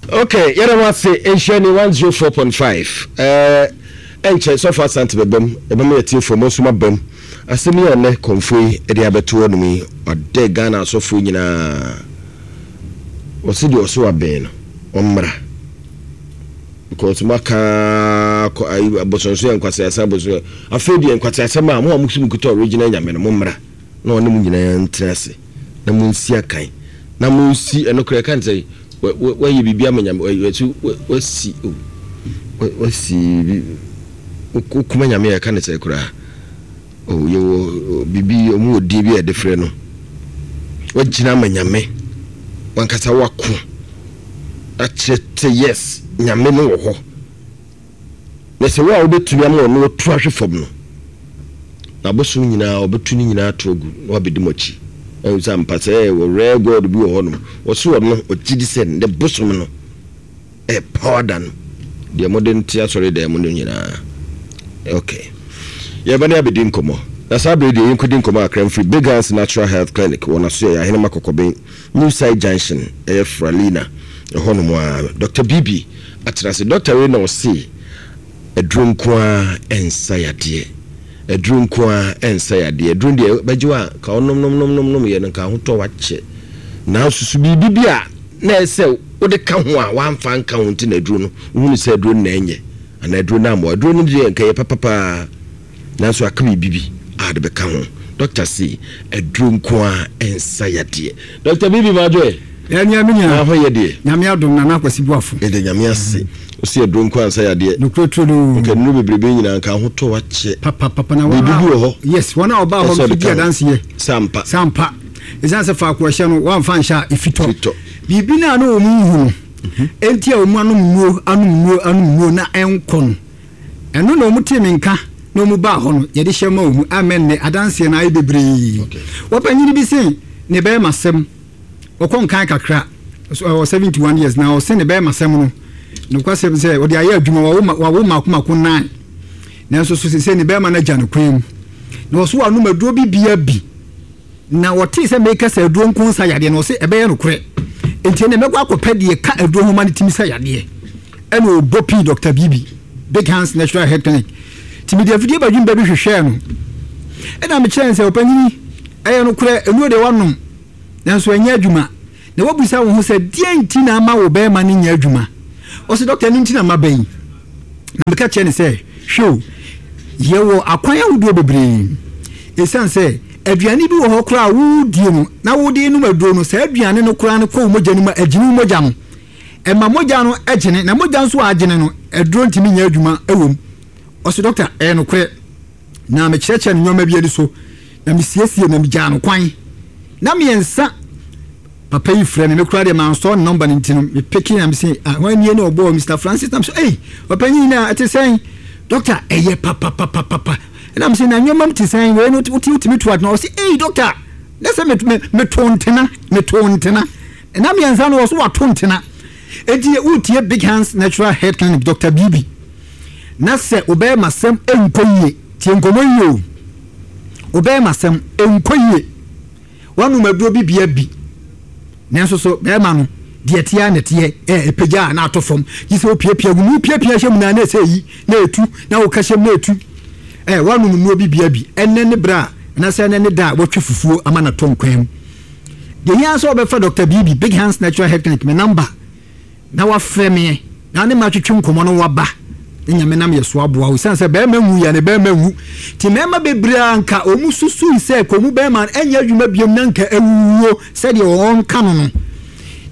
Okay, yɛda mo ase. Nhyira ni 104.5. Ɛɛ ɛnkyɛ sɔfo Asante bɛbam, ɛbɛma yɛtiefoɔ mo nso mabam. Asɛm yi a nnɛ kɔmfoɔ yi de abɛto hɔ nom yi, ɔdɛ Ghana asɔfoɔ nyinaa. Ɔse deɛ ɔso abɛn no, ɔmmra. Because mo aka kɔ ayi abosonso yɛ nkwaseasɛm abosonso. Afei deɛ nkwaseasɛm a mo a mo so mo kuta original nyame no mo mmra na ɔne mo nyinaa ntena ase na mo nsi akan na mo nsi ɛno koraa ɛka ne sɛ wayɛ biribi ama nyame wasi wasi wasi wokuma nyame a ɛka ne sɛ koraa oh yɛwɔ biribi ɔmo wɔ din bi a yɛde frɛ no wagyina ama nyame wankasa wako akyerɛ sɛ yes nyame no wɔ hɔ na sɛ wo a wobɛtumi ama ɔno atu ahwe fam no na abosom nyinaa ɔbɛtu ne nyinaa ato agu na wabɛdi mo akyi. Wahu sɛ ampa sɛ wɔ rare God bi wɔ hɔ nom, ɔse ɔno ɔgye di sɛ ne bosom no ɛyɛ power than deɛ mode no te asɔre dan mu no nyinaa. Ok. Yɛba ne abɛdi nkɔmmɔ. Na saa berɛ deɛ yɛnkɔdi nkɔmmɔ kakra mfiri Big Hands Natural Health Clinic wɔ Nasoɛ, Ahenema Kɔkɔben, New Site Junction, ɛyɛ Fralina, ɛhɔ nom ara. Doctor Bibi atena ase. Doctor wei na ɔse Aduro nko ara nsa yadeɛ. Aduro nko ara nsa yadeɛ. Aduro deɛ bɛgye wo a, nka wonom nom nom nom nom yɛ no nka ahotɔ wakyɛ. Nanso so biribi bi a na ɛsɛ wode ka ho a wamfa anka ho nti na aduro no wohunu sɛ aduro no na ɛnyɛ anaa aduro no ammoa. Aduro no deɛ nka ɛyɛ papa paa. Nanso aka biribi bi a ɔde bɛka ho. Dɔkta se aduro nko ara nsa yadeɛ. Dɔkta Bibi Madwoe. Yɛ nua me nua. Na ho yɛ deɛ. Nyame adom Nana Akwasi Boafo. Yɛda Nyame ase. Ɔse aduro nko ara nsa yadeɛ. Nokorɛ turodoo. Nka nnuro bebrebe nyinaa nka ahotɔ akyɛ. Papa papa na wɔn a. Biribi bi wɔ hɔ. Yes wɔn a ɔbaa hɔ nso di adanseɛ. Sampa. Sampa. Ɛsiane sɛ faako ɛhyɛ no wɔamfa nhyɛ a ɛfitɔ. Fitɔ. Biribi no a na wɔn nhu no. Enti a wɔn anom nnuro anom nnuro anom nnuro na ɛnkɔ no. Ɛno na wɔtee me nka na wɔbaa hɔ no, yɛde hyɛ maa wɔn. Amen nnɛ, adanseɛ no ayɛ bebree. Wɔpanyin bi se ne bɛɛmasɛm, ɔkɔ nkan kakra, ɔwɔ 71 years, na ɔse ne bɛɛmasɛm no, nokwasɛm sɛ ɔde ayɛ adwuma, wawo wawo mako mako nine, nanso so sese ne bɛɛma no agya no kwan mu, na ɔso wanom aduro bi bia bi. Na ɔtee sɛ mereka sɛ aduro nko nsa yadeɛ no, ɔse ɛbɛyɛ nokorɛ. Enti ɛnneɛ mɛkɔ akɔpɛ deɛ ɛka aduro ho ma no tumi sa yadeɛ. Ɛna ɔbɔ pii Doctor Bibi, Big Hands Natural Health Clinic. Nti mede afidie badwemba bi hwehwɛɛ no. Ɛna mekyerɛɛ no sɛ, ɔpanyini, ɛyɛ nokorɛ, nnuro deɛ woanom, nanso ɛnyɛ adwuma. Na woabisa wo ho sɛ deɛn nti na ama wo barima no nyɛ adwuma? Ɔse, Dɔkta, ɛno nti na maba yi. Na meka kyerɛɛ no sɛ, Hwɛ o, yɛwɔ akwan ahodoɔ bebree. Ɛsiane sɛ aduane bi wɔ hɔ koraa a wodie no na wode renom aduro no, saa aduane no koraa no kɔ wo mogya no mu a, ɛgyene wo mogya no. Ɛma mogya no gyene, na mogya nso a agyene no, aduro ntumi nyɛ adwuma wɔ mu. Ɔse, Dɔkta, ɛyɛ nokorɛ. Na mekyerɛkyerɛ no nneɛma bi ani so, na mesiesie na megyaa no kwan. Na mmiɛnsa papa yi frɛ me, me koraa deɛ mansɔ ne nɔmba no nti no, mepeke na mese, ah, hwan nie na ɔbɔɔ Mr. Francis? Na mese, ei, ɔpanyin na ɛte sɛn? Dɔkta, ɛyɛ papapapapa. Ɛna mese, na nneɛma mu te sɛn? Wei no, wote wotumi to adena. Ɔse, ei, dɔkta, na sɛ meto ntena, meto ntena. Na mmiɛnsa no, ɔso wato ntena. Enti wotie Big Hands Natural Health Clinic, Dr. Bibi. Na sɛ wobɛyɛ masɛm nkɔ yie, tie nkɔmmɔ yie o. Wobɛyɛ masɛm nkɔ yie. Wanom aduro bi bia bi. Nanso so bɛrima no deɛ ɛteɛ ara na ɛteɛ, ɛ ɛpagya a na atɔ fam. Gye sɛ wopiapia gu mu, wopiapia hyɛ mu na na ɛsɛ yi na ɛtu, na woka hyɛ mu na ɛtu. Ɛ wanom nnuro bi bia bi. Ɛnnɛ ne berɛ a, anaasɛ ɛnnɛ ne da a wɔatwa fufuo ama no atɔ nkwan mu. Deɛ hia sɛ wɔbɛfa Dr. Bibi, Big Hands Natural Health Clinic, me number na wafrɛ meɛ na ne matwetwe nkɔmmɔ no waba ne nyame nam yɛ so aboa wo ɛsiane sɛ bɛrima nwu yɛ ne bɛrima nwu nti mmarima bebree a nka wɔn susui sɛ kɔ mu bɛrima no ɛnyɛ adwuma biom na nka awuwuo sɛdeɛ wɔn ka no no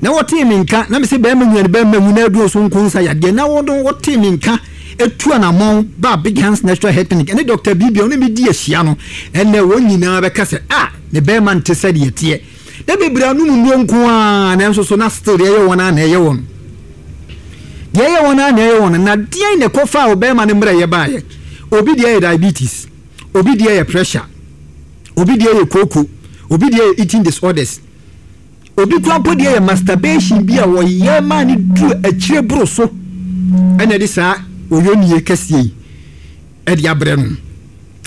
na wɔtee me nka na mese bɛrima nwu yɛ ne bɛrima nwu na aduro so nko nsa yadeɛ na wɔn wɔtee me nka etu anamɔn ba Big Hands Natural Health Clinic ɛne Dr. Bibi ɔne me di ahyia no ɛnɛ wɔn nyinaa bɛka sɛ ah ne bɛrima nte sɛdeɛ teɛ Na bebree anom nnuro nko ara nanso so na still deɛ ɛyɛ wɔn ara na ɛyɛ wɔn. Deɛ ɛyɛ wɔn ara na ɛyɛ wɔn. Na deɛn na ɛkɔfaa ɔbarima no mmerɛyɛ baeɛ? Obi deɛ yɛ diabetes, obi deɛ yɛ pressure, obi deɛ yɛ kooko, obi deɛ yɛ eating disorders, obi koraa mpo deɛ yɛ masturbation bi a wɔyɛ maa no duru akyire boro so ɛna ɛde saa oyonie kɛseɛ yi ɛde abrɛ no.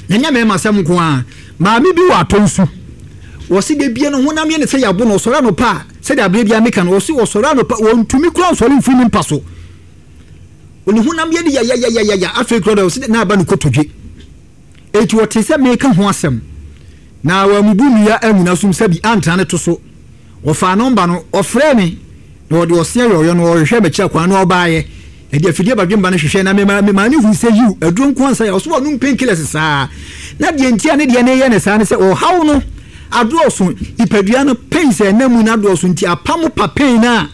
Na ɛnyɛ mmarima asɛm nko ara. Maame bi wɔ atɔ nsu. Wɔse da bia no honam yɛ ne sɛ yɛabo no. Ɔsɔre anɔpa a, Sɛdeɛ aberɛ biara meka no, ɔse ɔsɔre anɔpa, ɔntumi koraa nsɔre mfiri ne mpa so. Ne honam yɛ no yayayayaya, afei koraa deɛ ɔse na aba ne kotodwe. Enti ɔtee sɛ mereka ho asɛm, na wammubu nnua angu n'asom sɛ bi antra ne to so. Ɔfaa nɔmba no, ɔfrɛɛ me, na ɔde ɔse ayɔyɔ no, ɔhwehwɛɛ m'akyi akwan, na ɔbaeɛ. Ɛde afidie badwemba no hwehwɛɛ, na memaa memaa no huu sɛ yiw, aduro nko ansa yɛ. Ɔse ɔnom painkillers saa. Na deɛ nti a ne deɛ no reyɛ no saa ne sɛ ɔhaw no adɔɔso, nipadua no pains a ɛnam mu no adɔɔso nti apamo pa pain no a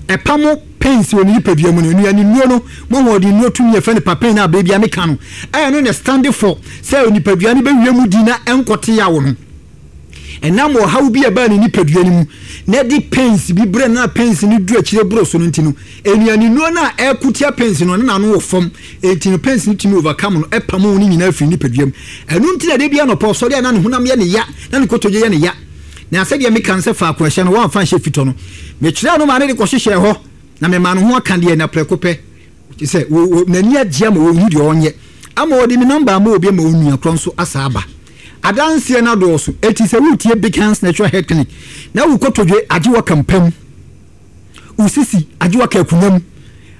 ɛpamo pains wɔ ne nipadua mu no. Nnuane nnuro no mu ahoɔden nnuro tumi a yɛfrɛ no papain no a berɛ biara meka no, ɛno na ɛstande for sɛ nipadua no bɛwie mu di na ɛnkɔte yaw no. Ɛnam ɔhaw bi a ɛbaa ne nipadua no mu na ɛde pains bi brɛ no na pains no du akyire boro so no nti no, nnuanennuro no a ɛko tia pains no, na n'ano wɔ fam. Enti no pains no tumi overcome no, ɛpamo ne nyinaa firi nipadua mu. Ɛno nti na da bi anɔpa ɔsɔre a na ne honam yɛ ne ya, na ne kotodwe yɛ ne ya. Na sɛdeɛ meka no sɛ faako a ɛhyɛ no, wɔamfa anhyɛ fitɔ no. Mekyerɛɛ no maa no de kɔhyehyɛɛ hɔ, na memaa no ho aka deɛ, na prɛko pɛ, kyerɛ sɛ, wɔ, wɔ, n'ani agye ama ɔnhu deɛ ɔnyɛ. Ama ɔde me nɔmba ama obi ama onua korɔ nso asa aba. Adanseɛ no adɔɔso, enti sɛ woretie Big Hands Natural Health Clinic na wo kotodwe agye wo aka mpa mu, wo sisi agye wo aka akonnwa mu,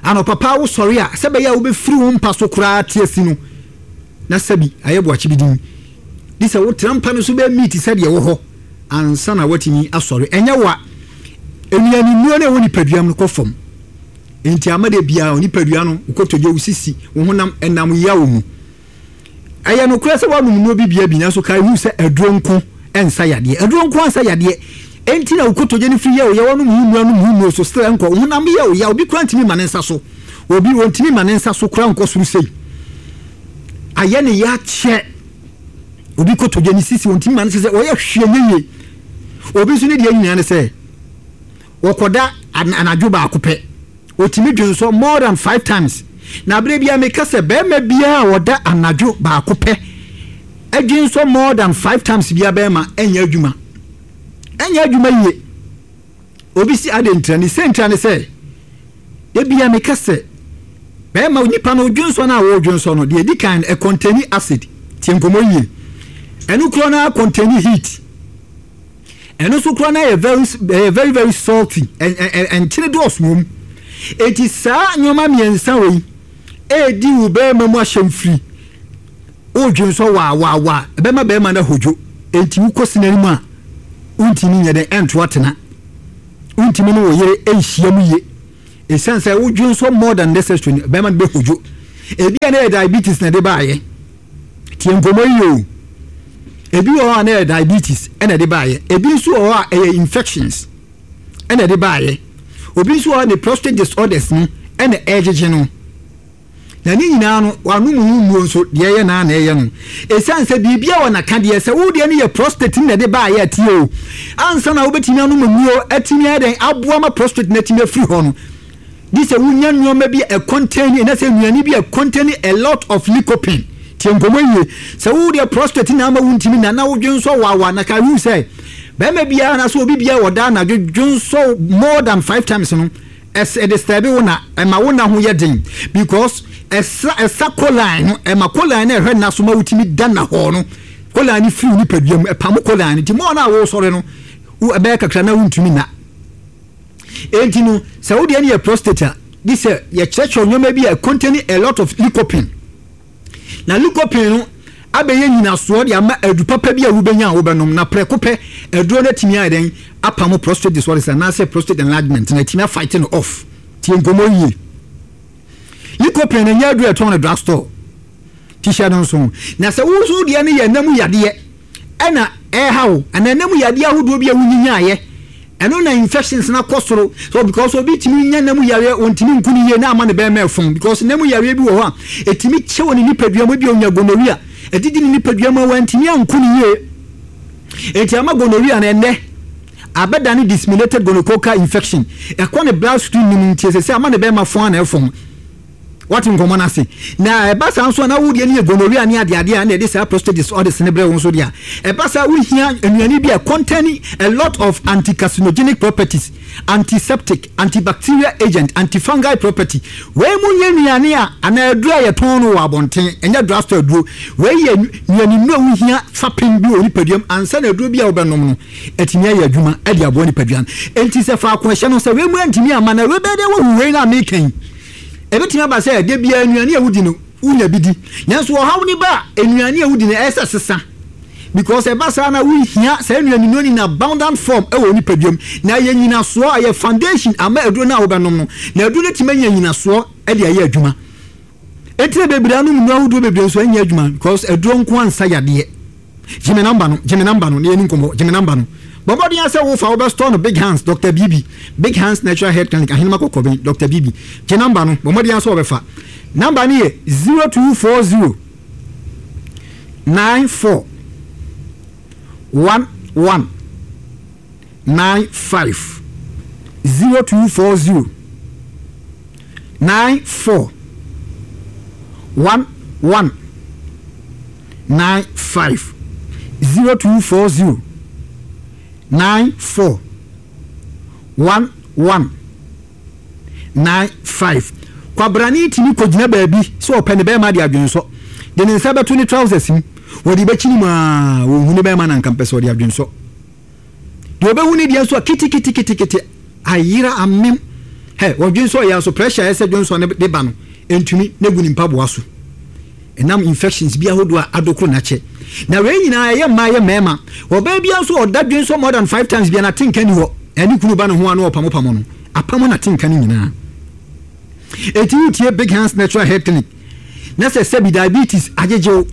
anɔpa paa wosɔre a, sɛ ɛbɛyɛ a wobɛfiri wo mpa so koraa te asi no, na sɛbi ayɛ boakye bi din. Gye sɛ wotra mpa no so bɛyɛ meet sɛdeɛ ɛwɔ hɔ ansa na woatumi asɔre. Ɛnyɛ wo a, nnuane nnuro no a ɛwɔ nipadua mu no kɔ fam. Enti ama da biara wo nipadua no, wo kotodwe, wo sisi, wo honam ɛnam yaw mu. Ɛyɛ nokorɛ sɛ woanom nnuro bi bia bi, nanso kae hu sɛ aduro nko nsa yadeɛ. Aduro nko ansa yadeɛ. Enti na wo kotodwe no firi yɛ wo ya, woanom ho nnuro, anom ho nnuro so, still ɛnkɔ. Wo honam yɛ wo ya, obi koraa ntumi mma ne nsa so. Obi, ɔntumi mma ne nsa so koraa nkɔ soro sei. Ayɛ ne ya kyɛ. Obi kotodwe ne sisi, ɔntumi mma ne sɛ ɔyɛ hwee nyɛ yie. Obi nso ne deɛ nyinaa ne sɛ, wɔkɔda anadwo baako pɛ. Ɔtumi dwonsɔ more than five times. Na berɛ biara meka sɛ barima biara a ɔda anadwo baako pɛ dwensɔ more than five times biara barima ɛnyɛ adwuma. Ɛnyɛ adwuma yie. Obi si adɛn ntira ne sɛ ntira ne sɛ da biara meka sɛ barima nipa no dwensɔ no a wɔredwensɔ no deɛ ɛdi kan no ɛkɔntɛni acid. Tie nkɔmmɔ yie. Ɛno korɔ no ara kɔntɛni heat. Ɛno nso koraa na ɛyɛ very ɛyɛ very very salty ɛ ɛ nkyene dɔɔso wɔ mu. Eti saa nneɛma mmiɛnsa wei ɛredi wo bɛrima mu ahyɛmfiri. Wodwen sɛ waa waa waa ɛbɛma bɛrima no ahodwo. Enti wokɔ sini no mu a wontumi nyɛ dɛn ɛnto atena. Wontumi ne wo yere nhyia mu yie. Esiane sɛ wodwen sɔ more than necessary no bɛrima no bɛhodwo. Ebi a na ɛyɛ diabetes na ɛde baayɛ. Tie nkɔmmɔ yi o. Ebi wɔ hɔ a na ɛyɛ diabetes ɛna ɛde baayɛ. Ebi nso wɔ hɔ a ɛyɛ infections ɛna ɛde baayɛ. Obi nso wɔ hɔ a ne prostate disorders no ɛna ɛregyegye no. Na ne nyinaa no wanom ho nnuro nso deɛ ɛyɛ naa na ɛyɛ no. Esiane sɛ biribi a wɔ n'aka deɛ sɛ wo deɛ no yɛ prostate no na ɛde baayɛ a tie o. Ansa na wobɛtumi anom nnuro atumi ayɛ dɛn aboa ma prostate no atumi afiri hɔ no, Gye sɛ wonya nneɛma bi a ɛkɔntɛni anaasɛ nnuane bi a ɛkɔntɛni a lot of lycopene. Tie nkɔmmɔ yie. Sɛ wo deɛ prostate na ama wontumi nna na wodwensɔ wawa na kae hu sɛ bɛrima biara anaasɛ obi biara wɔ daa anadwo dwensɔ more than five times no ɛs ɛdisturb wo na ɛma wo nna ho yɛ den because ɛsa ɛsa choline no ɛma choline no ɛhwɛ nna so ma wotumi da nnahɔɔ no choline no firi wo nipadua mu ɛpamo choline no nti more no a wosɔre no wo ɛbɛyɛ kakra na wontumi nna. Enti no, sɛ wo deɛ no yɛ prostate a, gye sɛ yɛkyerɛkyerɛw nneɛma bi a contain a lot of lycopene. Na lycopene no abɛyɛ nyinasoɔ de ama adu papa bi a wobɛnya a wobɛnom, na prɛko pɛ aduro no atumi ayɛ dɛn apamo prostate disorders anaasɛ prostate enlargement na atumi afight no off. Tie nkɔmmɔ yie. Lycopene no nyɛ aduro a ɛtɔn no drugstore. Ti hyɛ no nso. Na sɛ wo nso deɛ no yɛ nna mu yadeɛ, ɛna ɛreha wo anaa ɛna mu yadeɛ ahodoɔ bi a wonyinyaeɛ ɛno na infections no akɔ soro so because obi tumi nya nna mu yareɛ ɔntumi nku ne yie na ama ne bɛrima ɛfɔn because nna mu yareɛ bi wɔ hɔ a ɛtumi kyɛ wɔ ne nipadua mu ebi ɔnya gonorrhea ɛdidi ne nipadua mu a wantumi anku ne yie enti ama gonorrhea no ɛnnɛ abɛda ne disseminated gonococcal infection ɛkɔ ne blood stream no mu nti ɛsɛ sɛ ama ne bɛrima fɔn a na ɛfɔn. Woate nkɔmmɔ no ase? Na ɛba saa nso a na wo deɛ no yɛ gonorrhea ne adeadeɛ a na ɛde saa prostate disorders no brɛ wo nso deɛ a, ɛba saa wohia nnuane bi a contain a lot of anti-carcinogenic properties, antiseptic, antibacterial agent, antifungal property. Wei mu nyɛ nnuane a anaa aduro a yɛtɔn no wɔ abɔnten, ɛnyɛ drugstore aduro. Wei yɛ nnuane nnuro a wohia fapem bi wɔ nipadua mu ansa na aduro bi a wobɛnom no atumi ayɛ adwuma de aboa nipadua no. Enti sɛ faako ɛhyɛ no sɛ wei mu antumi amma na wei bɛyɛ dɛ woahu wei no a meka yi. Ebetumi aba sɛ da biara nnuane a wudi no, wunya bi di. Nanso ɔhaw no ba a, nnuane a wudi no, ɛyɛ sɛ ɛsesa. Because ɛba saa na wuhia saa nnuane no in abundant form wɔ wo nipadua mu. Na ɛyɛ nnyinasoɔ, ɛyɛ foundation ama aduro no a wobɛnom no. Na aduro no atumi anya nnyinasoɔ de ayɛ adwuma. Enti na bebree anom nnuro ahodoɔ bebree nso ɛnyɛ adwuma because aduro nko ara nsa yadeɛ. Gye me number no, gye me number no na yɛni nkɔmmɔ, gye me number no. Bɔ mmɔden ara sɛ wofa wobɛ store no Big Hands, Doctor Bibi, Big Hands Natural Health Clinic, Ahenema Kɔkɔben, Doctor Bibi. Gye number no, bɔ mmɔden ara sɛ wɔbɛfa. Number no yɛ 0240 94 11 95 0240 94 11 95 0240 94 11 95 Kwabrane tumi kɔgyina baabi sɛ ɔpɛ ne bɛrima de adwensɔ de ne nsa bɛto ne trousers mu, wɔde bɛkyini mu aa wɔnhu ne bɛrima na nka mpɛ sɛ ɔde adwensɔ. Deɛ ɔbɛhu ne deɛ nso a keteketekete ayera amem. Hɛ, ɔdwensɔ yɛ nso pressure a ɛsɛ dwensɔ no de ba no ntumi na egu ne mpaboa so. Ɛnam infections bi ahodoɔ a adokoro n'akyɛ. Na wei nyinaa ɛyɛ mmaa ɛyɛ mmarima. Ɔbaa biara nso ɔda dwensɔ more than five times biara n'atenka ni hɔ. Ɛne kunu ba ne ho a na ɔpamopamo no. Apamo n'atenka no nyinaa. Enti wotie Big Hands Natural Health Clinic na sɛ sɛbi diabetes agyegye wo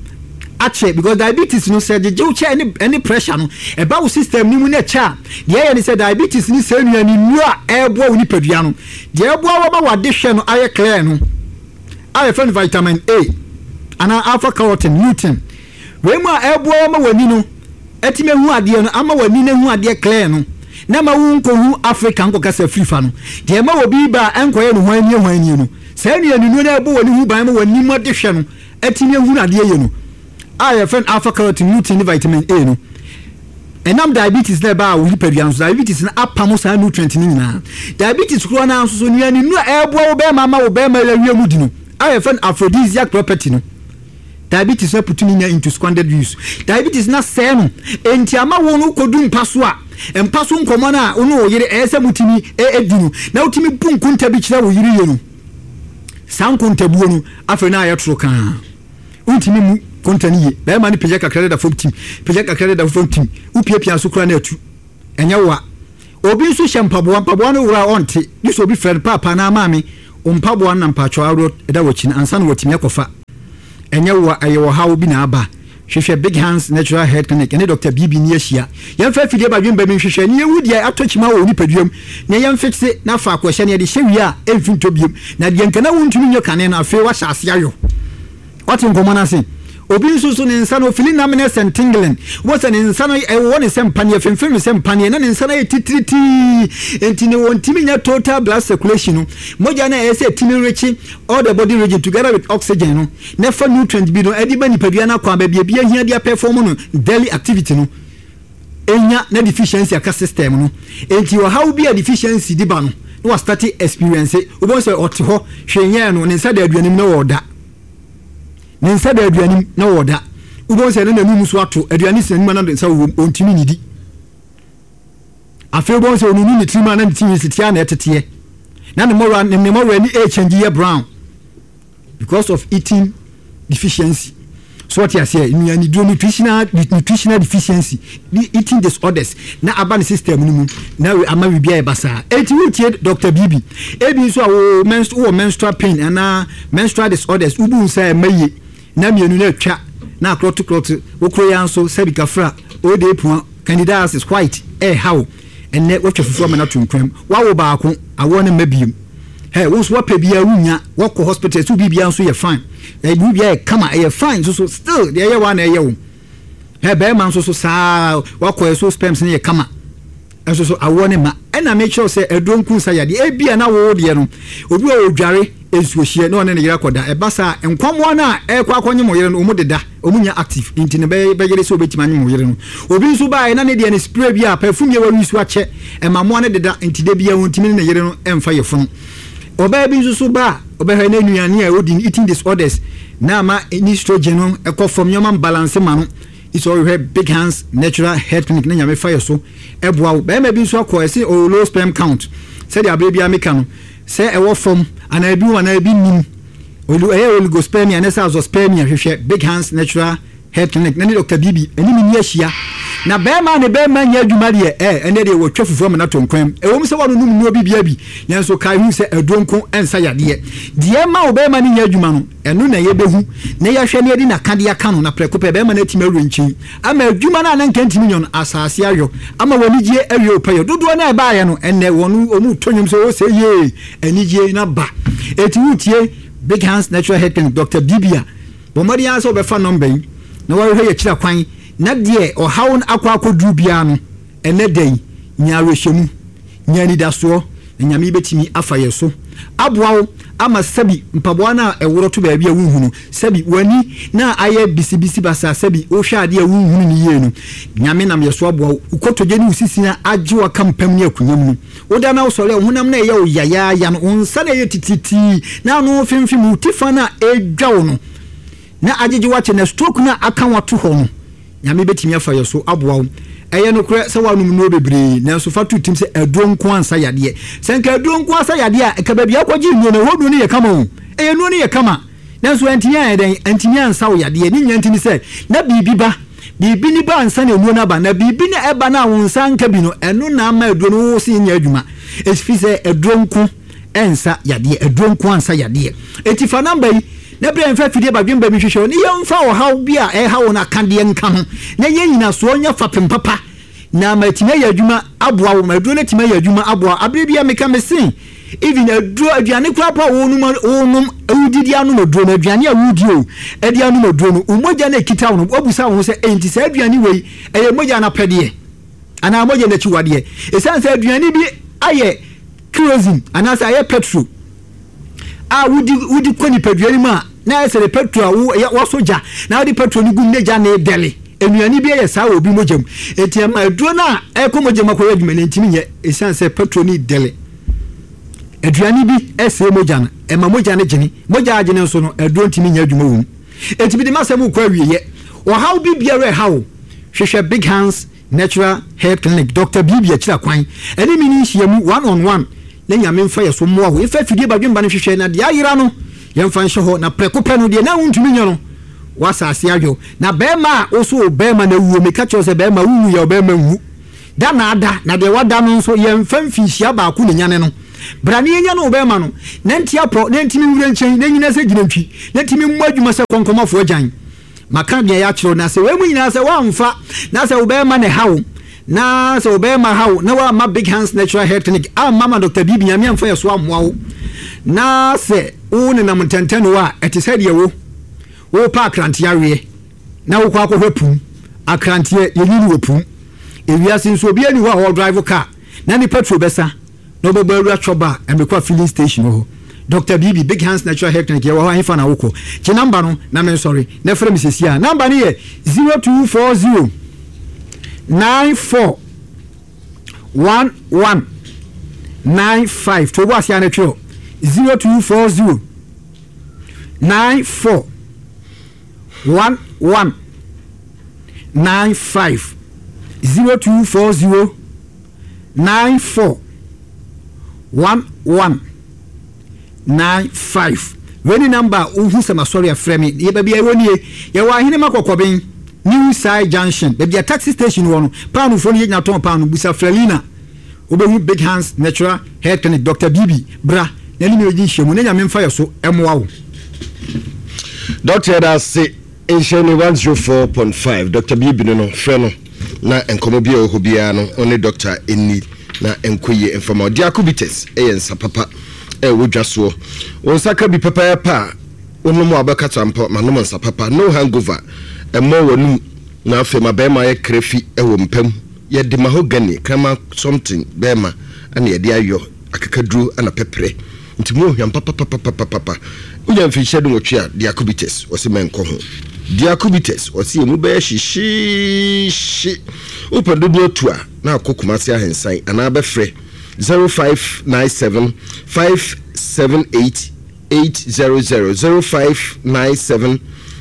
akyɛ because diabetes no sɛ gyegye wo kyɛ ɛne ɛne pressure no ɛba wo system no mu na ɛkyɛ a deɛ ɛyɛ ne sɛ diabetes ne sɛ nnuane nnuro a ɛreboa wo nipadua no deɛ ɛboa wo ma wade hwɛ no ayɛ clear no a yɛfrɛ no vitamin A anaa alpha carotene lutein Wei mu a ɛreboa wo ma w'ani no atumi ahu adeɛ no, ama w'ani no ahu adeɛ clear no, na ɛma wo nkɔhu Africa nkɔkasa firi fa no. Deɛ ɛma obi ba a ɛnkɔyɛ no hwan nie hwan nie no, saa nnuanennuro no a ɛbɔ w'ani ho ban ma w'ani mu adehwɛ no atumi ahunu adeɛ yie no, a yɛfrɛ no alpha carotene, lutein ne vitamin A no, ɛnam diabetes na ɛbaa wo nipadua no so, diabetes no apamo saa nutrient no nyinaa. Diabetes korɔ no ara nso so, nnuanennuro a ɛreboa wo bɛrima ama wo bɛrima awie mu di no, a yɛfrɛ no aphrodisiac property no, Diabetes no aputu ne nya into squandered use. Diabetes no asɛe no, enti ama wo no wokɔdu mpa so a, mpa so nkɔmmɔ no a wo ne wo yere ɛyɛ sɛ motumi di no, na wotumi bu nkonta bi kyerɛ wo yere yie no, saa nkontabuo no afei na ayɛ toro kaa. Wontumi mmu konta no yie. Bɛrima no pagya kakra deda fam tim, pagya kakra deda fam tim, wopiapia so koraa na atu. Ɛnyɛ wo a. Obi nso hyɛ mpaboa, mpaboa no wora a ɔnte, gye sɛ obi frɛ no, Paapa anaa Maame, wo mpaboa no na mpakyɛw aworɔ da w'akyi no ansa na watumi akɔfa. Ɛnyɛ wo a, ɛyɛ ɔhaw bi na aba. Hwehwɛ Big Hands Natural Health Clinic ne Dɔkta Bibi ne ahyia. Yɛmfa afidie badwemba bi nhwehwɛ na yɛnhu deɛ atɔ kyima wɔ wo nipadua mu na yɛmfikse na faako ɛhyɛ no yɛde hyɛ wie a ɛmfi ntɔ biom. Na deɛ nka na wontumi nyɛ kane no afei woahyɛ aseɛ ayɔ. Wate nkɔmmɔ no ase? Obi nso so ne nsa no ofili numbness and tingling. Wobɛhu sɛ ne nsa no ɛwowɔ ne sɛ mpaneɛ, femfem ne sɛ mpaneɛ, na ne nsa no ayɛ titiritii. Enti ne wɔntumi nya total blood circulation no. Mogya no a ɛyɛ sɛ ɛtumi rekye all the body region together with oxygen no, na ɛfa nutrient bi no ɛde ba nipadua no akwaa baabi a ebi ahia de apɛfɔm no daily activity no. Enya na deficiency aka system no. Enti ɔhaw bi a deficiency de ba no, na wastate experience. Wobɛhu sɛ ɔte hɔ, hwee nyɛɛ no, ne nsa da aduane mu na ɔreda. Ne nsa da aduane mu na ɔreda. Wobɛhu sɛ na n'anum so ato, aduane si n'anim a na ne nsa wɔ mu, ɔntumi nnidi. Afei wobɛhu sɛ ɔnunu ne tirim a na ne ti nwi teteɛ a na ɛteteɛ. Na ne mmɔwerɛ ne mmɔwerɛ ani ɛrekyɛngye yɛ brown. Because of eating deficiency. So ɔte aseɛ nnuaniduro nutritional nutritional deficiency eating disorders na aba ne system no mu na ama biribi ayɛ basaa. Eti wotie Dr. Bibi. Ebi nso a wo menstru wɔ menstrual pain anaa menstrual disorders wobu nsa ɛma yie na mmienu na atwa na akorɔto korɔto wokoro ya nso sɛbi kafra ode pua candidiasis white ɛɛha wo ɛnnɛ woatwa fufuo ama no ato nkwan mu woawo baako awoɔ no mma biem. Hey, wo nso wapɛ biara wunya, wakɔ hospital, ɛsɛ biribiara nso yɛ fine. Ɛyɛ biribiara yɛ kama, ɛyɛ fine nso so still deɛ ɛyɛ wa na ɛyɛ wo. Hey, bɛrima nso so saa wakɔ ɛso sperms no yɛ kama. Nso so awoɔ no mma. Ɛna mekyerɛ wo sɛ aduro nku nsa yadeɛ. Ebia na wo deɛ no, obi wɔ hɔ ɔdware nsuohyeɛ na ɔne ne yere akɔda. Ɛba saa a, nkwammoa no a ɛrekɔ akɔnyem wo yere no, wɔn deda, wɔn nnya active, nti no bɛyɛ bɛyere sɛ wobɛtumi anyem wo yere no. Obi nso baeɛ na ne deɛ no spray bi a perfume yɛ wawi so akyɛ, ɛma mmoa no deda, nti da biara ɔntumi ne ne yere no mfa yafunu. Ɔbaa bi nso so ba a, ɔbɛhwɛ na nnuane a ɔdi no, eating disorders, na ama ne estrogen no kɔ fam, nneɛma mbalanse ma no. Sɛ ɔhwehwɛ Big Hands Natural Health Clinic na Nyame fa yɛ so boa wo. Barima bi nso akɔ ɛse ɔwɔ low sperm count. Sɛdeɛ aberɛ biara meka no, sɛ ɛwɔ fam anaa ebi wɔ anaa ebi nnim. Ɛyɛ oligospermia anaa sɛ azoospermia hwehwɛ Big Hands Natural Health Clinic na ne Dr. Bibi ɛne me ni ahyia. Na barima a ne barima nyɛ adwuma deɛ ɛ ɛnɛ deɛ wɔtwa fufuo ama no atɔ nkwan mu. Ɛwom sɛ woanonom nnuro bi bia bi nanso kae hu sɛ aduro nko nsa yadeɛ. Deɛ ɛma wo barima no nyɛ adwuma no, Ɛno na yɛbɛhu na yɛahwɛ na yɛde n'akadeɛ aka no, na prɛko pɛ bɛrima no atumi awerɛ nkyen ama adwuma no a na anka ntumi nyɔ no, asase ayɔ ama w'anigyeɛ awie wo pɛyɛ. Dodoɔ no a ɛbaeɛ no, ɛnnɛ wɔn wɔretɔ nnwom sɛ, O sɛ yee, anigyeɛ no aba. Enti woretie Big Hands Natural Health Clinic, Doctor Bibi a, bɔ mmɔden ara sɛ wobɛfa nɔmba yi na woahwehwɛ yɛn akyiri akwan, na deɛ ɔhaw no akɔ akɔduru biara no, Ɛnnɛ da yi, nya awerɛhyɛmu, nya anidasoɔ, na Nyame bɛtumi afa yɛn so aboa wo ama sɛbi mpaboa no a ɛworɔ to baabi a wonhunu, sɛbi w'ani no a ayɛ bisibisi basaa, sɛbi wohwɛ adeɛ a wonhunu no yie no, Nyame nam yɛn so aboa wo. Wo kotodwe ne wo sisi a agye wo aka mpam ne akonya mu no, woda na wosɔre a, wo honam no a ɛyɛ wo yayaaya no, wo nsa no a ɛyɛ titiritii na ano femfem, wo ti fa no a ɛredwa wo no, na agyegye wo akyɛ, na stroke no a aka wo ato hɔ no, Nyame bɛtumi afa yɛ so aboa wo. Ɛyɛ nokorɛ sɛ woanom nnuro bebree, nanso fa to tirim sɛ aduro nko ara nsa yadeɛ. Sɛ nka aduro nko ara sa yadeɛ a, nka baabi a wokɔgyee nnuro no, ɛhɔ nnuro no yɛ kama o. Ɛyɛ nnuro no yɛ kama, nanso antumi anyɛ dɛn? Antumi ansa wo yadeɛ. Ne nyinaa nti ne sɛ, na biribi ba. Biribi ne ba ansa na nnuro no aba, na biribi na ɛba no a wo nsa anka bi no, ɛno na ama aduro no wo se nyɛ adwuma. Ɛfiri sɛ aduro nko nsa yadeɛ, aduro nko ara nsa yadeɛ. Enti fa namba yi na berɛ a yɛmfa afidie badwemba bi nhwehwɛ wo ne yɛmfa ɔhaw bi a ɛreha wo no akadeɛ nka ho na yɛn nyinasoɔ nyɛ fapem papa na ama atumi ayɛ adwuma aboa wo ma aduro no atumi ayɛ adwuma aboa wo. Aberɛ bi a meka mese even aduro aduane koraa po a wonom wonom wodidi anom aduro no aduane a wodi o ɛde anom aduro no wo mogya no ɛkita wo no woabusa wo ho sɛ enti saa aduane wei ɛyɛ mogya no apɛdeɛ anaa mogya no akyiwadeɛ ɛsiane sɛ aduane bi ayɛ kerosene anaasɛ ayɛ petrol a wodi wodi kɔ nipadua no mu a na ayɛ sɛ de petrol a wo yɛ wɔsɔ gya na wode petrol no gu mu na gya na ɛdɛle nnuane bi yɛ saa wɔ obi mogya mu eti ɛma aduro no a ɛkɔ mogya mu akɔyɛ adwuma no ntumi nyɛ esiane sɛ petrol no dɛle aduane bi ɛsɛe mogya no ɛma mogya no gyene mogya agyene nso no aduro ntumi nyɛ adwuma wɔ mu eti bi de masɛm kɔ awieɛ ɔhaw bi biara ɛhaw hwehwɛ Big Hands Natural Health Clinic, Doctor Bibi akyira kwan, ɛne me ne nhyiamu one on one na Nyame mfa yɛ so mmoa wo. Yɛmfa afidie badwemba no nhwehwɛ na deɛ ayera no yɛmfa nhyɛ hɔ na prɛko pɛ no deɛ na wontumi nyɛ no w'asase adwo. Na bɛɛma a wo so wo bɛɛma na awuo meka kyerɛ wo sɛ bɛɛma wo wuiɛ ɔbɛɛma nwu da na ada na deɛ wada no nso yɛmfa mfinhyia baako na nyane no. Bra na yɛnyane wo bɛɛma no na nte apɔ na ntimi nwura nkyɛn na nyina sɛ gyinantwi na ntimi mmɔ adwuma sɛ kɔnkɔmafoɔ agyan. Maka deɛ yɛakyerɛ wo, na sɛ wei mu nyinaa sɛ woamfa, na sɛ wo bɛrima na ɛha wo, na sɛ wo bɛrima ha wo, na woamma Big Hands Natural Hair Clinic amma ma Dr. Bibi Nyame amfa yɛ so ammoa wo, na sɛ wo nenam ntɛntɛnoɔ a, ɛte sɛ deɛ wo worepɛ akranteɛ aweɛ, na wokɔ akɔhwɛ pum. Akranteɛ, yɛnyi no wɔ pum. Ewiase nso obiara nni hɔ a ɔredrive car na ne petrol bɛsa. Na ɔbɛbɔ awura Chɔba a mekɔ filling station wɔ hɔ. Doctor Bibi, Big Hands Natural Hair Clinic, yɛwɔ hɔ, ɛhefa na wokɔ? Gye number no na mensɔre na frɛ me seesei ara. Number no yɛ 0240 94 11 95. To wo bo ase ara na twerɛ 0240 94 11 95. 0240 94 11 95 Wei ne number a wohu sɛ masɔre a frɛ me. Yɛ baabi a yɛwɔ nie. Yɛwɔ Ahenema Kɔkɔben, New Side Junction, baabi a taxi station wɔ no. Paanofoɔ no yɛgyina tɔn paano. Busa Frɛlina. Wobɛhu Big Hands Natural Hair Clinic. Doctor Bibi, bra na ne me bɛdi nhyiamu na Nyame mfa yɛ so mmoa wo. Doctor yɛda ase. Nhyɛ ne 104.5 Doctor Bibi no no frɛ no na nkɔmmɔ bi a ɛwɔ hɔ biara no ɔne doctor nni na ɛnkɔ yie mfa ma wo. Diako Bitters yɛ nsa papa a ɛwɔ dwa soɔ. Wo nsa ka bi pɛpɛɛpɛ a wonom a wobɛkata mpo manom nsa papa. No hangover, ɛmmɔ w'anum na afei ma barima ayɛ krafi wɔ mpa mu. Yɛde mahogany, kraman something, bɛɛma na yɛde ayɔ akekaduro na pɛprɛ. Nti mu ɔhwam papapapapapa. Wonya mfinhyia dunwɔtwe a, diacubitus, wɔse mɛnkɔ ho. Diacubitus, wɔse emu bɛyɛ hyehyeehye. Wopɛ dodoɔ atu a, na akɔ Kumasi Ahensan anaa bɛfrɛ 0597 578 800, 0597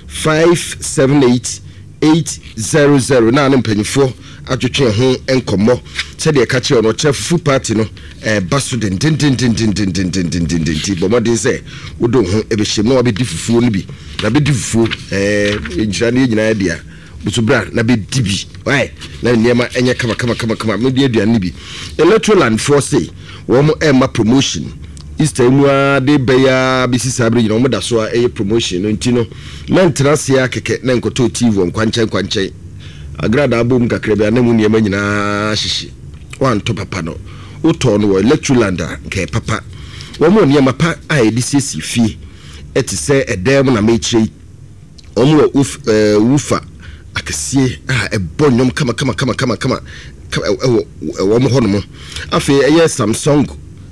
578 800 na ne mpanyinfoɔ atwetwe ho nkɔmmɔ sɛdeɛ ɛka kyerɛ no ɔkyerɛ fufu party no ɛreba so dendendendendendendendenden nti bɔ mmɔden sɛ wode wo ho ɛbɛhyɛm na wabɛdi fufuo no bi na bɛdi fufuo ɛɛ nhyira no yɛ nyinaa dea nso bra na bɛdi bi wae na nneɛma ɛnyɛ kama kama kama kama medi aduane no bi Electroland foɔ se wɔn ɛma promotion Easter yi mu ara de bɛyɛ ara bɛsi saa bere nyina wɔn da so a ɛyɛ promotion no nti no mɛntena ase ara kɛkɛ na nkɔtɔ TV wɔ nkwankyɛn nkwankyɛn agradaa bom kakra bi a na mu nneɛma nyinaa hyehye wantɔ papa no wotɔɔ no wɔ Electroland a nka ɛyɛ papa wɔn wɔ nneɛma pa a yɛde siesie fie ɛte sɛ ɛdan mu na mekyerɛ yi Wɔn wɔ wuf ɛɛ wufa akɛseɛ a ɛbɔ nnwom kama kama kama kama kama ɛwɔ wɔn hɔ nom. Afei ɛyɛ Samsung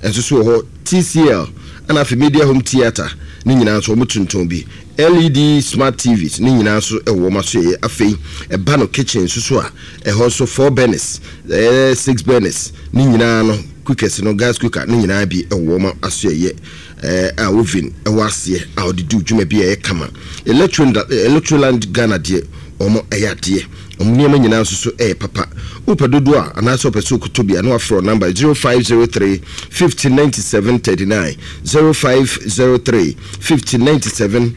nso so wɔ hɔ, TCL ɛna afei Media Home Theatre ne nyinaa nso wɔn tontɔn bi. LED smart TVs ne nyinaa nso ɛwɔ wɔn asoɛeɛ. Afei ɛba no kitchen nso so a ɛhɔ nso four burners, ɛyɛ six burners ne nyinaa no cookers no gas cooker ne nyinaa bi ɛwɔ wɔn asoɛeɛ. a oven wɔ aseɛ a wɔde di dwuma bi a ɛyɛ kama. Electroland Ghana deɛ wɔn ɛyɛ adeɛ. Wɔn nneɛma nyinaa nso so ɛyɛ papa. Wopɛ dodoɔ a anaasɛ wopɛ sɛ wokɔtɔ bi a na wafrɛ wɔn number 0503 50 97 39 0503 50 97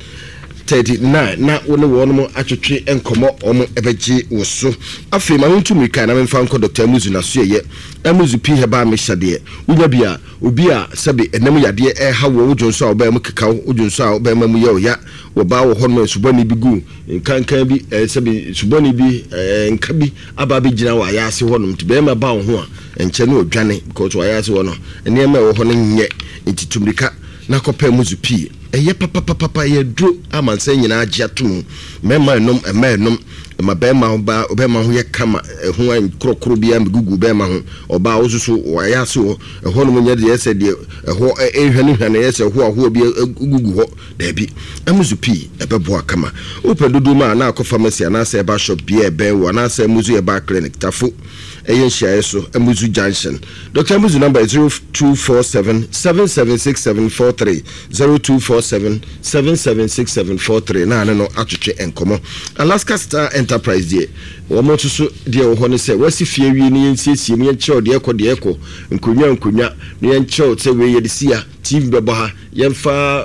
39 na wo ne wɔn atwetwe nkɔmmɔ wɔn ɛbɛgye wo so. Afei ma mentu mmirika na memfa nkɔ Dr. Amuzu n'asoɛyɛ. Amuzu P Herbal Mixture deɛ wonya bi a Obi a sɛbe ɛnam yadeɛ reha woɔ, wo dwonsɔ a ɔbaa mu keka wo, wo dwonsɔ a ɔbarima mu yɛ wo ya, wɔ baa wɔ hɔnom a nsubɔne bi gu nkankan bi, ɛɛ sɛbe nsubɔne bi, ɛɛ nka bi aba abɛgyina wɔ ayaase hɔnom, nti barima ba wo ho a, ɛnkyɛ na ɔdwane because wɔ ayaase hɔ no, nneɛma a ɛwɔ hɔ no nyɛ, nti tu mmirika na kɔpɛ muzu pii. Ɛyɛ papapapapa, ɛyɛ aduro a amansan nyinaa agye ato mu. Mmarima renom, mmaa renom, ɛma barima ho ba, barima ho yɛ kama, ɛho nkorɔkorɔ biara mmɛgugu barima ho. Ɔbaa wo nso so, wɔ ayaase hɔ, Ɛhɔnom nyɛ deɛ sɛ deɛ ɛhɔ rehwanehwane yɛ sɛ hoahoa bi gugu hɔ. Daabi. Amuzu pii, ɛbɛboa kama. Wopɛ dodoɔ mu a, na akɔ pharmacy anaasɛ herbal shop biara a ɛbɛn wo anaasɛ Amuzu Herbal Clinic, Tafo, ɛyɛ nhyiaeɛ so, Amuzu Junction. Doctor Amuzu number yɛ 0247 776743, 0247 776743 na ne no atwetwe nkɔmmɔ. Alaska Star Enterprise deɛ, Wɔn nso so deɛ ɛwɔ hɔ ne sɛ, wɔasi fie awie na yɛnsiesie mu, yɛnkyerɛw deɛ ɛkɔ deɛ ɛkɔ, nkonnwa nkonnwa, na yɛnkyerɛw sɛ wei yɛde si ha, TV bɛbɔ ha, yɛmfa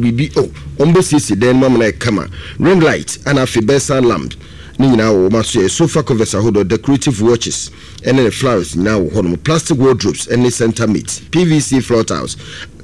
biribi, oh, wɔbɛsiesie dan no mu ama no ayɛ kama. Ring light, ɛna afei bedside lamp, ne nyinaa wɔ wɔn asoɛeɛ. Sofa covers ahodoɔ, decorative watches, ɛne ne flowers nyinaa wɔ hɔnom. Plastic wardrobes ne center mate, PVC floor tiles,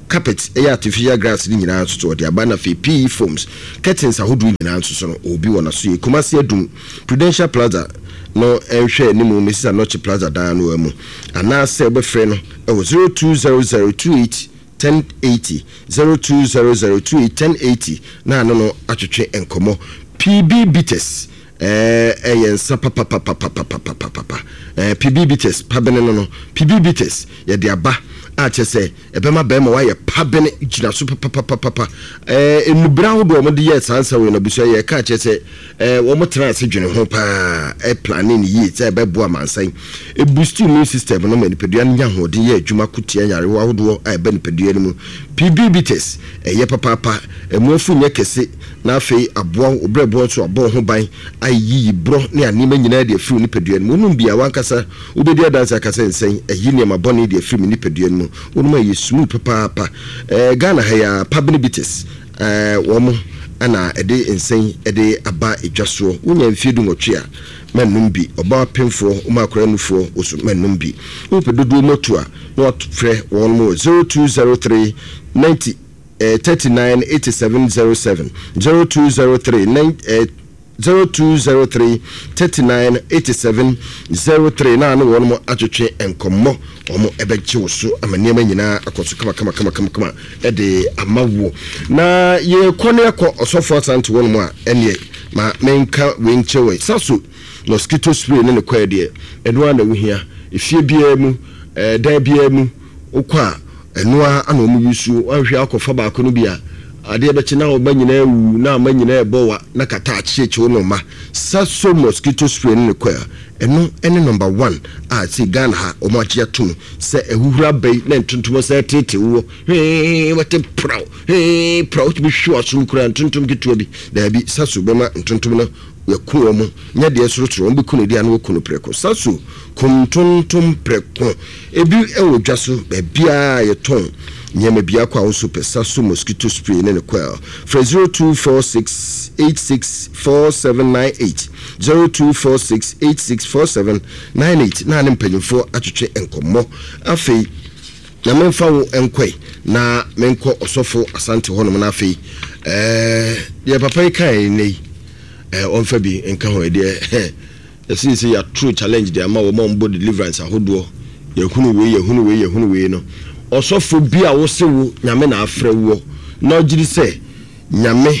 carpet, ɛyɛ artificial grass ne nyinaa nso so wɔde aba, na afei PE foams, curtains ahodoɔ nyinaa nso so no, obi wɔ n'asoɛeɛ. Kumasi Adum. Prudential Plaza no nhwɛ anim Mrs. Anokye Plaza dan no ara mu, anaasɛ wobɛfrɛ no wɔ 0200 28 1080, 0200 28 1080 na ano no atwetwe nkɔmmɔ. PB Bitters ɛyɛ nsa papapapapapapapa. PB Bitters, pabene no no, PB Bitters yɛde aba a kyerɛ sɛ Ɛbɛma bɛrima wayɛ pabene gyina so papapapapa. Ɛɛ nnubere ahodoɔ a wɔde yɛɛ saa nsa wei no abusua yɛka akyerɛ sɛ ɛɛ wɔn tena ase dwene ho paa ɛplane no yie sɛ ɛbɛboa amansan. Ɛbusti immune system no ma nipadua no nya ahoɔden yɛ adwuma ko tia nyarewa ahodoɔ a ɛba nipadua no mu. PB bitters ɛyɛ papaapa, ɛmu afu nyɛ kɛse na afei aboa wo brɛboɔ nso abɔ wo ho ban ayiyi borɔ ne anneɛma nyinaa de afiri wo nipadua no mu. Wonom bi a w'ankasa Wobɛdi adanse aka sɛ nsɛn ayi nneɛma bɔne de afiri me nipadua no mu. Wonom a ɛyɛ smooth papaapa. Eh, Ghana ha yi ara, Pabene Bitters, eh, wɔn na ɛde nsɛn de aba dwa soɔ. Wonya mfeɛ dunwɔtwe a, mɛnnom bi. Ɔbaa pemfoɔ, woma akwadaa nufoɔ, wo so mɛnnom bi. Wopɛ dodoɔ mu atu a, na woafrɛ wɔn wɔ 0203 90 eh, 39 87 07, 0203 9 eh, 0203 39 87 03 na ne wɔn atwetwe nkɔmmɔ. Wɔn bɛgye wo so ama nneɛma nyinaa akɔ so kama kama kama kama kama de ama wo. Na yɛkɔ ne yɛkɔ ɔsɔfo Asante wɔn mu a, ɛneɛ ma menka wei nkyerɛ wɔ. Saso. Mosquito spray ne ne kɔɛ deɛ, ɛno ara na wohia. Efie biara mu, ɛɛ dan biara mu, wokɔ a, ɛno ara na wɔn use. Woanhwɛ a wokɔfa baako no bi a, adeɛ bɛkye na wo ba nyinaa awu, na ama nyinaa ɛrebɔ wa, na kata akyekye wo ne wo mma. Saso mosquito spray ne ne kɔɛ, ɛno ne number one a sei Ghana ha wɔn agye atom sɛ ahuhuro aba yi na ntontom sɛ ɛteetee woɔ, hwee, wɔte praw, hwee, praw, wotumi hwe w'asom koraa ntontom ketewa bi. Daabi, Saso bɛma ntontom no Yɛku wɔn, nyɛ deɛ sorosoro, wɔn bɛku no deɛ a na wɔku no prɛko. Sasu kum ntontom prɛko. Ebi wɔ dwa so, baabiara a yɛtɔn nneɛma biako a wo nso pɛ Sasu mosquito spray ne ne coil. Frɛ 0246 86 4798, 0246 86 4798 na ne mpanyimfoɔ atwetwe nkɔmmɔ. Afei, na memfa wo nkɔe na menkɔ Ɔsɔfo Asante hɔnom na afei, ɛɛ, deɛ papa yi kae nnɛ yi, Eh ɔmfa bi nka ho ɛdeɛ yɛse sɛ yɛatoro challenge de ama wɔn a wɔbɔ deliverance ahodoɔ yɛhunu wei yɛhunu wei yɛhunu wei no ɔsɔfo bi a wose wo Nyame na afrɛ woɔ na ɔgyedi sɛ Nyame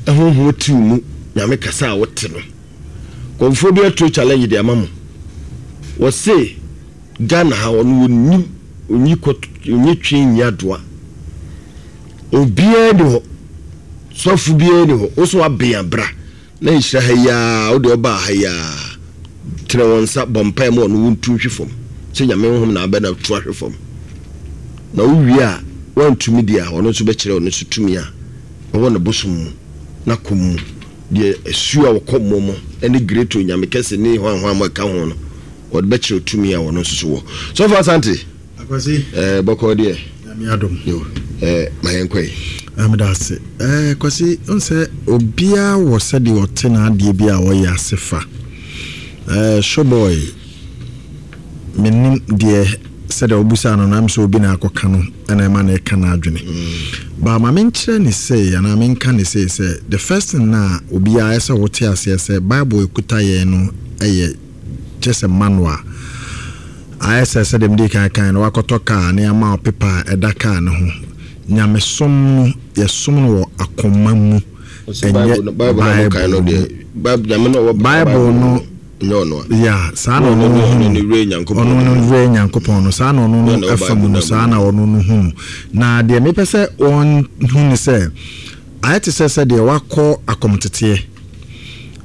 honhom te wo mu Nyame kasa a wote no kɔmfoɔ bi atoro challenge de ama mo wɔse Ghana ha ɔno ɔnnim ɔnyi kɔ ɔnyi twe nyi adoa Obiara nni hɔ, sɔfo biara nni hɔ, wo so waben a bra na nhyira ha yi ara, wo deɛ ɔbaa ha yi ara, tene wɔn nsa bɔ mpaeɛ ma ɔno wontu nhwe fam, sɛ Nyame honhom na abɛ na tu ahwe fam, na wo wie a woantumi deɛ a ɔno nso bɛkyerɛ ɔno nso tumi a ɛwɔ ne bosom mu, n'akɔm mu, deɛ asuo a wɔkɔ mmɔ mu ne great Onyame kɛse ne hwan hwan mo ɛka ho no, ɔde bɛkyerɛ tumi a ɔno nso so wɔ. Sɔfo Asante! Akwasi. Ɛɛ bɔkɔɔ deɛ. Nyame adom. Yo ɛɛ ma yɛn kɔ yi. Ah meda ase. Ɛɛ Kwasi n sɛ obiara wɔ sɛdeɛ ɔte n'adeɛ bi a ɔyɛ ase fa. Ɛɛ Showboy menim deɛ sɛdeɛ wobusaa no no am sɛ obi na akɔka no ɛna ɛma no ɛka n'adwene. Ba ma menkyerɛ ne sei anaa menka ne sei sɛ the first thing na obiara ɛsɛ wote aseɛ sɛ Bible ɛkuta yɛn no ɛyɛ kyerɛ sɛ manual. Ayɛ sɛ sɛdeɛ medii kan kaeɛ no, woakɔtɔ kaa na yɛama wo pepa a ɛda kaa no ho. Nyamesom no, yɛsom no wɔ akoma mu, ɛnyɛ Bible no mu. Bible no, yeah, saa na ɔno no hu no. Ɔno no werɛ Nyankopɔn no, saa na ɔno no ɛfa mu no, saa na ɔno no hu no. Na deɛ mepɛ sɛ wɔhu ne sɛ, Ayɛ te sɛ sɛdeɛ woakɔ akɔmteteɛ.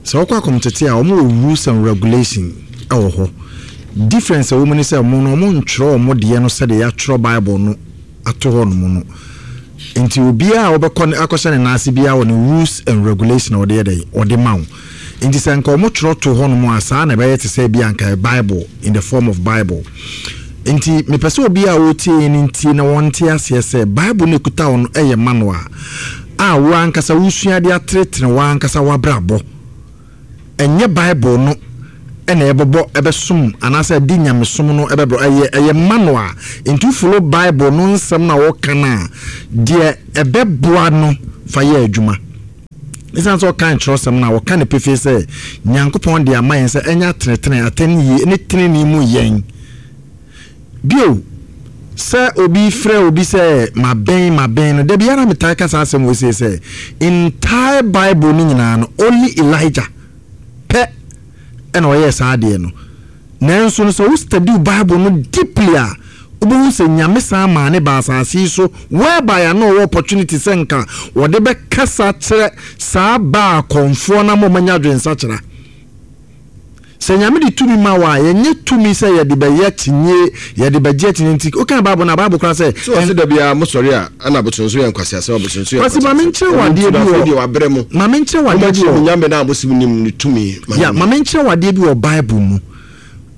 Sɛ wokɔ akɔmteteɛ a, wɔn wɔ rules and regulation wɔ hɔ. Difference a ɛwɔ mu ne sɛ wɔn no wɔn ntwerɛ wɔn deɛ no sɛdeɛ yɛatwerɛ Bible no ato hɔ nom no. Nti obiara a wobɛkɔ akɔhyɛ ne nan ase biara wɔ ne rules and regulation a ɔde yɛ dɛn ɔde ma wo. Nti sɛ nka wɔn twerɛ to hɔ nom a saa na ɛbɛyɛ te sɛ ebi a nka Bible in the form of Bible. Nti mepɛ sɛ obi a ɔretie yɛn no ntie na wɔnte aseɛ sɛ Bible no ɛkuta wo no yɛ manual a wo ankasa wosua de atenetene wo ankasa w'abrabɔ. Ɛnyɛ Bible no na ɛbɛbɔ ɛbɛsom anaasɛ ɛde nyamesom no ɛbɛbrɛ ɛyɛ ɛyɛ manual. Nti wo follow Bible no nsɛm na wɔka no a deɛ ɛbɛboa no fa yɛ adwuma. Esiane sɛ ɔkan kyerɛwsɛm no a, ɔka no pefee sɛ, Nyankopɔn de ama yɛn sɛ ɛnyɛ atenetene, atɛnyie, ne tenenee mu yɛn. Bio, sɛ obi frɛ obi sɛ maben, maben no, da biara metaa ka saa asɛm wei sei sɛ, entire Bible no nyinaa no, only Elijah pɛ na ɔyɛɛ saa adeɛ no. Nanso no sɛ wo study wo bible no deeply a wobɛhu sɛ Nyame san maa ne baa asase yi so whereby a na ɔwɔ opportunity sɛ nka wɔde bɛkasa kyerɛ saa baa akɔmfoɔ no ama wɔanya adwensakyera. Sɛ Nyame de tumi ma wo a, yɛnyɛ tumi sɛ yɛde bɛyɛ akyinnye, yɛde bɛgye akyinnye nti wokan bible no a, bible koraa sɛ. So ɔse da biara mo sɔre a ɛna abosonsom yɛ nkwaseasɛm abosonsom yɛ Kwasi ma nkwaseasɛm menkyerɛ wo ɛno adeɛ nti bi no afei wɔ deɛ wabrɛ mo ma menkyerɛ wo adeɛ bi mommɛkyerɛ wɔ mo nyame no a mose monim no tumi ma Ya menhu. ma menkyerɛ wo adeɛ bi wɔ bible mu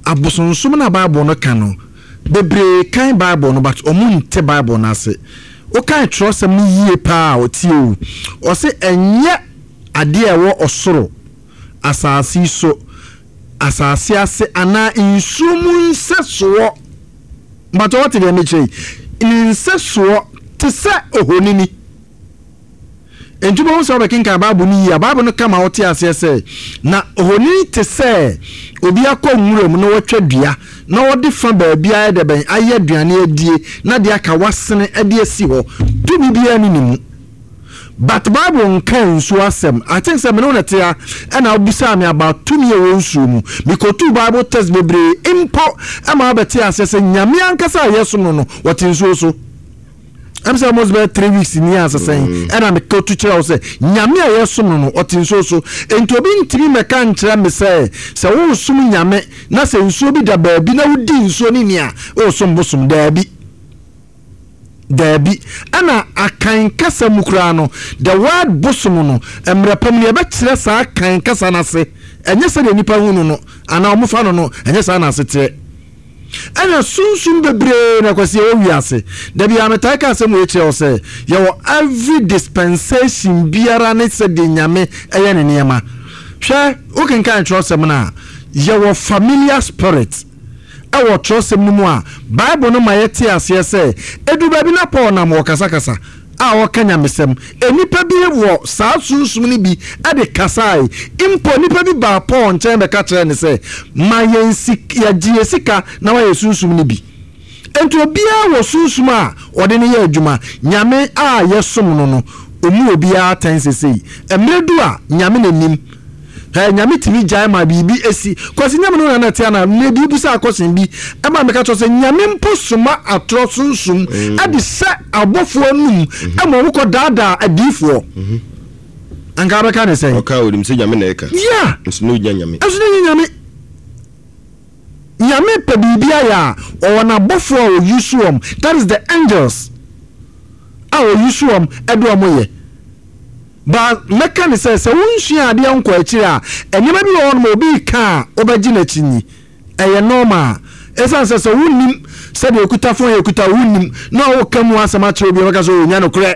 abosonsom no a bible no ka no bebree kan bible no but ɔmo nte bible no ase wokan twerɛsɛm no yie paa a ɔtie o ɔse ɛnyɛ adeɛ a ɛwɔ ɔsoro asase yi so asase ase anaa nsuo mu nsɛsoɔ Mpakyɛ woate deɛ mekyerɛ yi? Ne nsɛsoɔ te sɛ ohonini. Enti wobɛhu sɛ wobɛkenkan Bible no yie a, Bible no ka ma wote aseɛ sɛ, na ohonini te sɛ obi akɔ nwura mu na watwa dua na ɔde fa baabi ayɛ dɛ bɛn ayɛ aduane adie na deɛ aka wasene de asi hɔ. Tumi biara nni ne mu. But Bible nka nsuo asɛm. I think sɛ me ne wo na ɛte ha ɛna wobisaa me about tumi a ɛwɔ nsuo mu. Mekɔtuu Bible text bebree mpo ma wobɛtee aseɛ sɛ Nyame ankasa a yɛsom no no, ɔte nsuo so. Ɛm sɛ almost bɛyɛ 3 weeks ni a sesɛn mm. ɛna mekɔtu kyerɛ wo sɛ Nyame a yɛsom no no, ɔte nsuo so. Enti obi ntumi mmɛka nkyerɛ me sɛ sɛ woresom Nyame na sɛ nsuo bi da baabi na wodi nsuo no ni a, woresom bosom. Daabi. Daabi. Ɛna Akan kasa mu koraa no, the word bosom no, mmerɛ pa mu no yɛbɛkyerɛ saa Akan kasa no ase. Ɛnyɛ sɛdeɛ nnipa hu no no, anaa wɔfa no no, ɛnyɛ saa na ase teɛ. Ɛna sunsum bebree na Kwasi ɛwɔ wiase. Da biara metaa ka asɛm wei kyerɛ wo sɛ, yɛwɔ every dispensation biara ne sɛdeɛ Nyame ɛyɛ ne nneɛma. Hwɛ, wokenkan twerɛsɛm no a, yɛwɔ familiar spirit. Wɔ kyerɛwsɛm no mu a, Bible no ma yɛte aseɛ sɛ ɛduru baabi na Paul nam ɔkasakasa a ɔreka nyamesɛm. Nnipa bi wɔ saa sunsum no bi de kasae. Mpo nnipa bi baa Paul nkyɛn bɛka kyerɛɛ no sɛ, Ma yɛn sik, yɛgye yɛn sika na woayɛ sunsum no bi. Enti obiara wɔ sunsum a ɔde no yɛ adwuma. Nyame a yɛsom no no, ɔmmu obiara atɛn sesei. Mmerɛ du a, Nyame na nim. Hɛ, Nyame tumi gyae ma biribi si. Kwasi Nyame no na na ɛte anaa? Mmerɛ bi wobisaa question bi ma meka kyerɛ wo sɛ Nyame mpo soma atorɔ sunsum de hyɛ abɔfoɔ anum ma wɔn kɔ daadaa adiyifoɔ. Anka wobɛka ne sɛn? Ɔka a onim sɛ Nyame na ɛka. Yeah! Nso na ɔnnya Nyame. Nso na ɔnnya Nyame. Nyame pɛ biribi ayɛ a, ɔwɔ n'abɔfoɔ a ɔuse wɔn, that is the angels a ɔuse wɔn de wɔn yɛ. But mɛka no sɛ, sɛ wonsua adeɛ nkɔ akyire a, nneɛma bi wɔ hɔnom a obi reka a wobɛgye no akyinnye. Ɛyɛ normal. Ɛsiane sɛ sɛ wonnim sɛdeɛ ɔkuta phone yɛ kuta wonnim na woka mu asɛm akyerɛ obi a ɔbɛka sɛ ɔnya nokorɛ.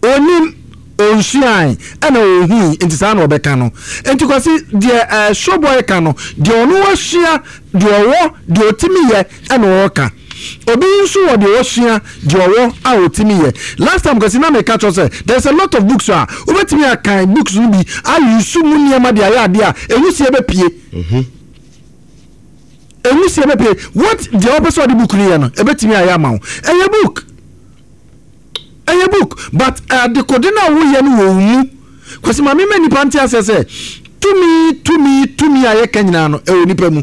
Ɔnnim, ɔnsuae, ɛna ɔnhui nti saa na ɔbɛka no. Nti Kwasi, deɛ eh, Showboy ka no, deɛ ɔno wasua, deɛ ɔwɔ, deɛ ɔtumi yɛ ɛna ɔreka. Obi nso wɔ deɛ wasua, deɛ ɔwɔ a ɔtumi yɛ. Last time Kwasi na meka kyerɛ sɛ there is a lot of books a wobɛtumi akan books no bi ayusu mu nneɛma de ayɛ adeɛ a ɛnwusie bɛpue. Ɛnwusie bɛpue. What deɛ wopɛ sɛ ɔde book no yɛ no, ɛbɛtumi ayɛ ama wo. Ɛyɛ book. Ɛyɛ book but adekode no a woyɛ no wɔ wo mu. Kwasi ma mema nnipa nte aseɛ sɛ tumi tumi tumi a yɛka nyinaa no ɛwɔ nipa mu.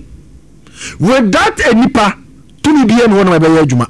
Without a nipa tumi biara ni hɔ nom a ɛbɛyɛ adwuma.